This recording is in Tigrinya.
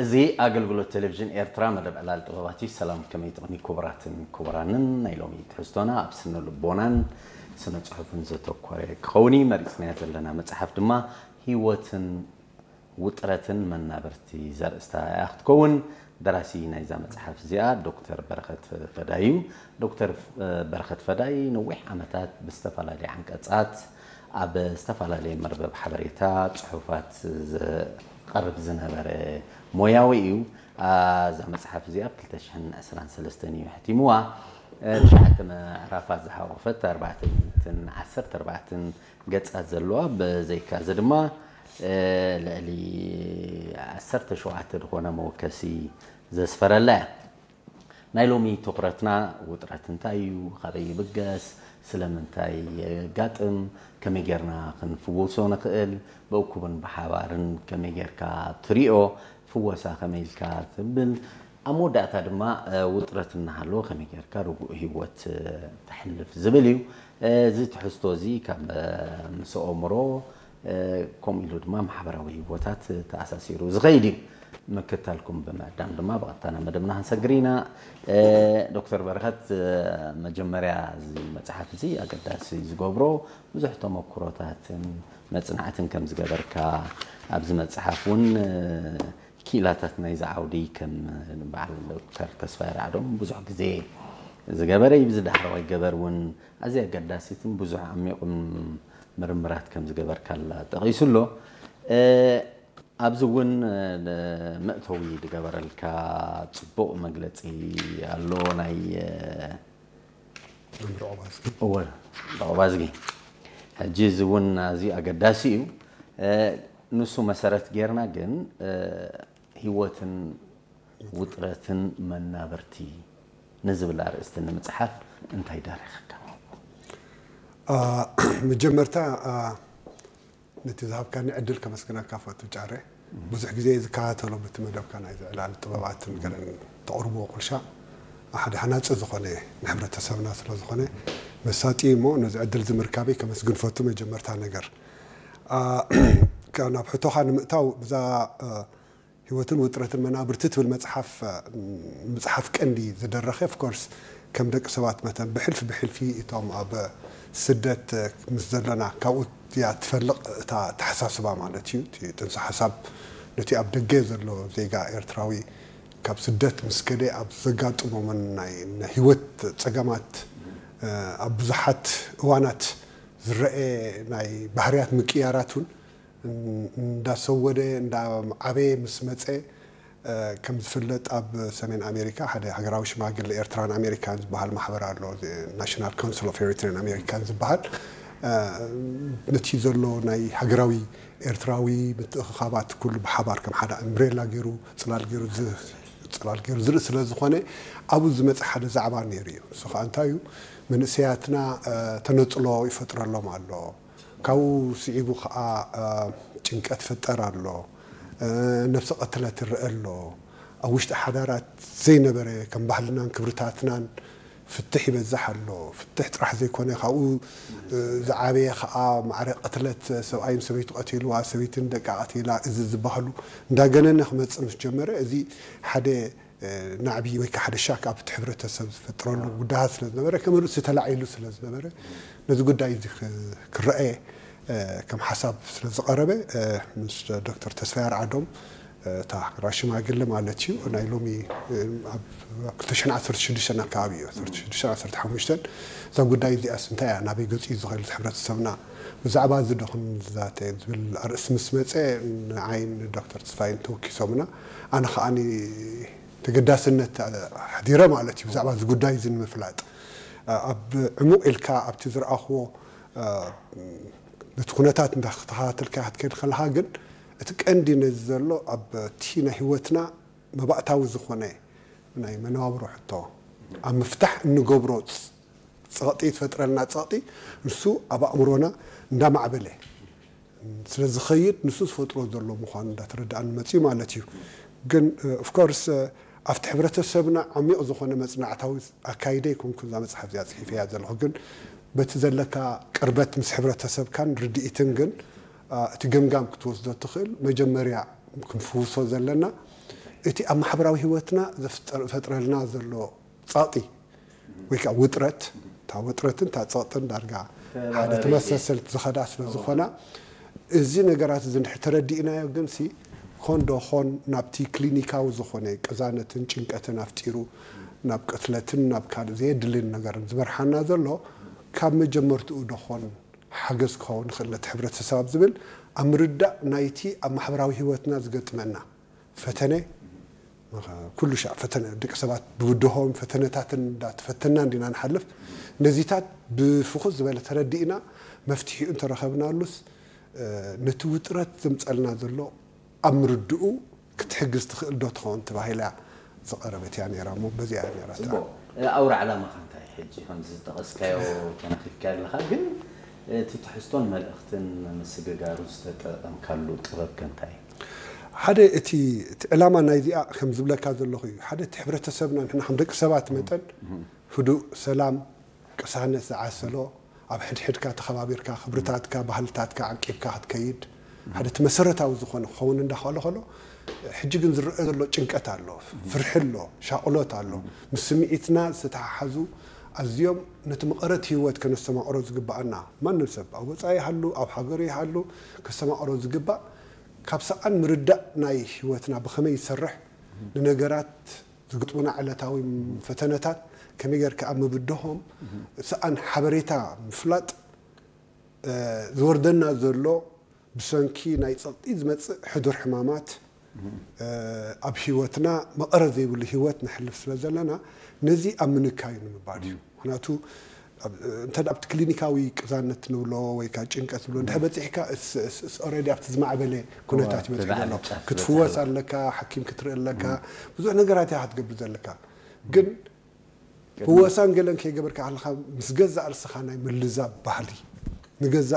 እዚ ኣገልግሎት ቴሌቪዥን ኤርትራ መደብ ዕላል ጥበባት እዩ። ሰላም፣ ከመይ ጥቕሚ ክቡራትን ክቡራንን። ናይ ሎሚ ትሕዝቶና ኣብ ስነ ልቦናን ስነ ጽሑፍን ዘተኮረ ክኸውን እዩ። መሪጽናያ ዘለና መጽሓፍ ድማ ህይወትን ውጥረትን መናብርቲ ዘርእስታ እያ ክትከውን። ደራሲ ናይዛ መጽሓፍ እዚኣ ዶክተር በረኸት ፈዳይ እዩ። ዶክተር በረኸት ፈዳይ ነዊሕ ዓመታት ብዝተፈላለየ ዓንቀጻት ኣብ ዝተፈላለየ መርበብ ሓበሬታ ጽሑፋት ዘቐርብ ዝነበረ ሞያዊ እዩ። እዛ መጽሓፍ እዚኣ ኣብ ክልተ ሽሕን ዕስራን ሰለስተን እዩ ሕቲምዋ። ትሽዓተ ምዕራፋት ዝሓቆፈት ኣርባዕተ ሚእትን ዓሰርተ ኣርባዕተን ገጻት ዘለዋ፣ ብዘይካ እዚ ድማ ልዕሊ ዓሰርተ ሸውዓተ ዝኾነ መወከሲ ዘስፈረላ እያ። ናይ ሎሚ ትኹረትና ውጥረት እንታይ እዩ? ካበይ ይብገስ? ስለምንታይ የጋጥም? ከመይ ጌርና ክንፍውሶ ንኽእል? ብእኩብን ብሓባርን ከመይ ጌርካ ትሪኦ? ፍወሳ ከመይ ኢልካ ትብል? ኣብ መወዳእታ ድማ ውጥረት እናሃለወ ከመይ ጌርካ ርጉእ ህይወት ተሕልፍ ዝብል እዩ። እዚ ትሕዝቶ እዚ ካብ ምስ ኣእምሮ ከምኡ ኢሉ ድማ ማሕበራዊ ህይወታት ተኣሳሲሩ ዝኸይድ እዩ። ምክታልኩም ብምዕዳም ድማ ብቐጥታ ናብ መደብና ክንሰግር ኢና። ዶክተር በረኸት፣ መጀመርያ እዚ መጽሓፍ እዚ ኣገዳሲ ዝገብሮ ብዙሕ ተመክሮታትን መጽናዕትን ከም ዝገበርካ፣ ኣብዚ መጽሓፍ እውን ክኢላታት ናይዚ ዓውዲ ከም በዓል ዶክተር ተስፋይ ራዕዶም ብዙሕ ግዜ ዝገበረ እዩ። ብዚ ዳሕረዋይ ገበር እውን ኣዝያ ኣገዳሲትን ብዙሕ ዓሚቑን ምርምራት ከም ዝገበርካላ ጠቒሱ ኣሎ። ኣብዚ እውን መእተዊ ዝገበረልካ ጽቡቕ መግለጺ ኣሎ። ናይ መምህር ኦባዝጊ እወ፣ ኦባዝጊ። ሕጂ እዚ እውን ኣዝዩ ኣገዳሲ እዩ። ንሱ መሰረት ጌርና ግን ህይወትን ውጥረትን መናብርቲ ንዝብል ኣርእስቲ ንምጽሓፍ እንታይ ዳረኸካ? መጀመርታ ነቲ ዝሃብካኒ ዕድል ከመስግነካ ፈቱ ጫረ። ብዙሕ ግዜ ዝከታተሎ በቲ መደብካ ናይ ዝዕላል ጥበባትን ገለን ተቕርብዎ ኩልሻ ሓደ ሃናጺ ዝኾነ ንሕብረተሰብና ስለ ዝኾነ መሳጢ እሞ ነዚ ዕድል ዝምርካበይ ከመስግን ፈቱ። መጀመርታ ነገር ናብ ሕቶኻ ንምእታው ብዛ ህይወትን ውጥረትን መናብርቲ ትብል መጽሓፍ ምጽሓፍ ቀንዲ ዝደረኸ ኦፍኮርስ ከም ደቂ ሰባት መተን ብሕልፊ ብሕልፊ እቶም ኣብ ስደት ምስ ዘለና ካብኡ እያ ትፈልቕ እታ ተሓሳስባ ማለት እዩ። እቲ ጥንሰ ሓሳብ ነቲ ኣብ ደገ ዘሎ ዜጋ ኤርትራዊ ካብ ስደት ምስ ከደ ኣብ ዘጋጥሞምን ናይ ህይወት ጸገማት ኣብ ብዙሓት እዋናት ዝረአ ናይ ባህርያት ምቅያራት እውን እንዳሰወደ እንዳዓበየ ምስ መፀ ከም ዝፍለጥ ኣብ ሰሜን ኣሜሪካ ሓደ ሃገራዊ ሽማግለ ኤርትራን ኣሜሪካን ዝበሃል ማሕበር ኣሎ። ናሽናል ካውንስል ኦፍ ኤሪትሪያን ኣሜሪካን ዝበሃል ነቲ ዘሎ ናይ ሃገራዊ ኤርትራዊ ምትእኽኻባት ኩሉ ብሓባር ከም ሓደ እምብሬላ ገይሩ ፅላል ገይሩ ዝርኢ ስለ ዝኾነ ኣብኡ ዝመፀ ሓደ ዛዕባ ነይሩ እዩ። እሱ ከዓ እንታይ እዩ? መንእሰያትና ተነፅሎ ይፈጥረሎም ኣሎ። ካብኡ ስዒቡ ከዓ ጭንቀት ይፍጠር ኣሎ። ነብሰ ቅትለት ይረአ ኣሎ። ኣብ ውሽጢ ሓዳራት ዘይነበረ ከም ባህልናን ክብርታትናን ፍትሕ ይበዝሕ ኣሎ። ፍትሕ ጥራሕ ዘይኮነ ካብኡ ዝዓበየ ከዓ ማዕረ ቅትለት፣ ሰብኣይን ሰበይቱ ቀቲልዋ፣ ሰበይትን ደቃ ቀቲላ፣ እዚ ዝበሃሉ እንዳገነነ ክመፅእ ምስ ጀመረ እዚ ሓደ ናዕቢ ወይ ከዓ ሓደ ሻክ ኣብቲ ሕብረተሰብ ዝፈጥረሉ ጉዳያት ስለ ዝነበረ ከም ርእሲ ተላዒሉ ስለ ዝነበረ ነዚ ጉዳይ እዚ ክረአ ከም ሓሳብ ስለ ዝቐረበ ምስ ዶክተር ተስፋይ ኣርዓዶም እታ ሃገራዊ ሽማግለ ማለት እዩ ናይ ሎሚ ኣብ ክልተ ሽሕን ዓሰርተ ሽዱሽተን ኣካባቢ እዩ ዓሰርተ ሽዱሽተን ዓሰርተ ሓሙሽተን እዛ ጉዳይ እዚኣስ እንታይ እያ ናበይ ገፂ እዩ ዝኽእል እቲ ሕብረተሰብና ብዛዕባ እዚ ዶ ክንዛተ ዝብል ኣርእስቲ ምስ መፀ ንዓይን ዶክተር ተስፋይን ተወኪሶምና ኣነ ከዓኒ ተገዳስነት ኣሕዲረ ማለት እዩ ብዛዕባ እዚ ጉዳይ እዚ ንምፍላጥ ኣብ ዕሙቕ ኢልካ ኣብቲ ዝረኣኽዎ ነቲ ኩነታት እንዳተኸታተልካ ክትከይድ ከለኻ ግን እቲ ቀንዲ ነዚ ዘሎ ኣብቲ ናይ ህይወትና መባእታዊ ዝኾነ ናይ መነባብሮ ሕቶ ኣብ ምፍታሕ እንገብሮ ፀቕጢ ትፈጥረልና ፀቕጢ ንሱ ኣብ ኣእምሮና እንዳማዕበለ ስለ ዝኸይድ ንሱ ዝፈጥሮ ዘሎ ምዃኑ እንዳተረዳእኒ መፅዩ ማለት እዩ። ግን ኦፍኮርስ ኣብቲ ሕብረተሰብና ዓሚቕ ዝኾነ መፅናዕታዊ ኣካይደ ይኮንኩ እዛ መፅሓፍ እዚኣ ፅሒፈያ ዘለኹ ግን በቲ ዘለካ ቅርበት ምስ ሕብረተሰብካን ርድኢትን ግን እቲ ገምጋም ክትወስዶ ትኽእል መጀመርያ ክንፍውሶ ዘለና እቲ ኣብ ማሕበራዊ ህይወትና ዘፍጠር- ዝፈጥረልና ዘሎ ጸቕጢ ወይ ከዓ ውጥረት፣ እታ ውጥረትን እታ ጸቕጥን ዳርጋ ሓደ ተመሳሰልቲ ዝኸዳ ስለ ዝኾና፣ እዚ ነገራት እዚ እንድሕር ተረዲእናዮ ግን ሲ ኮን ዶ ኾን ናብቲ ክሊኒካዊ ዝኾነ ቅዛነትን ጭንቀትን ኣፍጢሩ ናብ ቅትለትን ናብ ካልእ ዘየድልን ነገርን ዝመርሓና ዘሎ ካብ መጀመርትኡ ዶ ኾን ሓገዝ ክኸውን ይኽእል ነቲ ሕብረተሰብ ኣብ ዝብል ኣብ ምርዳእ ናይቲ ኣብ ማሕበራዊ ህይወትና ዝገጥመና ፈተነ፣ ኩሉ ሻዕ ፈተነ፣ ደቂ ሰባት ብብድሆም ፈተነታትን እንዳተፈተና እንዲና ንሓልፍ። ነዚታት ብፍኹስ ዝበለ ተረዲእና መፍትሒኡ እንተረኸብናሉስ፣ እ፣ ነቲ ውጥረት ዘምጸልና ዘሎ ኣብ ምርድኡ ክትሕግዝ ትኽእል ዶ ትኸውን ተባሂላ እያ ዝቐረበት እያ ነይራ እሞ በዚኣ እያ ነይራ እታ። ፅቡቅ። ኣውራ ዕላማኻ እንታይ? ሕጂ ከምዚ ዝጠቐስካዮ ተነኺፍካ ኣለኻ፣ ግን እቲ ትሕዝቶን መልእኽትን ንምስግጋሩ ዝተጠቐምካሉ ጥበብ ከ እንታይ እዩ? ሓደ እቲ እቲ ዕላማ ናይዚኣ ከም ዝብለካ ዘለኹ እዩ። ሓደ እቲ ሕብረተሰብና ንሕና ከም ደቂ ሰባት መጠን ህዱእ፣ ሰላም፣ ቅሳነት ዝዓሰሎ፣ ኣብ ሕድሕድካ ተኸባቢርካ ክብርታትካ ባህልታትካ ዓቂብካ ክትከይድ ሓደ እቲ መሰረታዊ ዝኾነ ክኸውን እንዳኸሎ ከሎ፣ ሕጂ ግን ዝረአ ዘሎ ጭንቀት ኣሎ፣ ፍርሒ ኣሎ፣ ሻቕሎት ኣሎ። ምስ ስምዒትና ዝተተሓሓዙ ኣዝዮም ነቲ መቐረት ህይወት ከነስተማቕሮ ዝግባኣና፣ ማንም ሰብ ኣብ ወፃኢ ይሃሉ ኣብ ሃገሩ ይሃሉ ከስተማቕሮ ዝግባእ፣ ካብ ሰኣን ምርዳእ ናይ ህይወትና ብኸመይ ይሰርሕ፣ ንነገራት ዝግጥሙና ዕለታዊ ፈተነታት ከመይ ጌርካ ኣብ ምብድሆም፣ ሰኣን ሓበሬታ ምፍላጥ፣ ዝወርደና ዘሎ ብሰንኪ ናይ ፀቕጢ ዝመፅእ ሕዱር ሕማማት ኣብ ህይወትና መቐረት ዘይብሉ ህይወት ነሕልፍ ስለ ዘለና ነዚ ኣብ ምንካዩ ንምባል እዩ። ምክንያቱ እንተ ኣብቲ ክሊኒካዊ ቅዛነት ንብሎ ወይ ከዓ ጭንቀት ንብሎ እንድሕር በፂሕካ ኦረዲ ኣብቲ ዝማዕበለ ኩነታት እዩ በፂሑ ዘሎ። ክትፍወስ ኣለካ፣ ሓኪም ክትርኢ ኣለካ፣ ብዙሕ ነገራት እያ ክትገብር ዘለካ። ግን ፍወሳን ገለን ከይገበርካ ከለካ ምስ ገዛእ ርእስኻ ናይ ምልዛብ ባህሊ ንገዛእ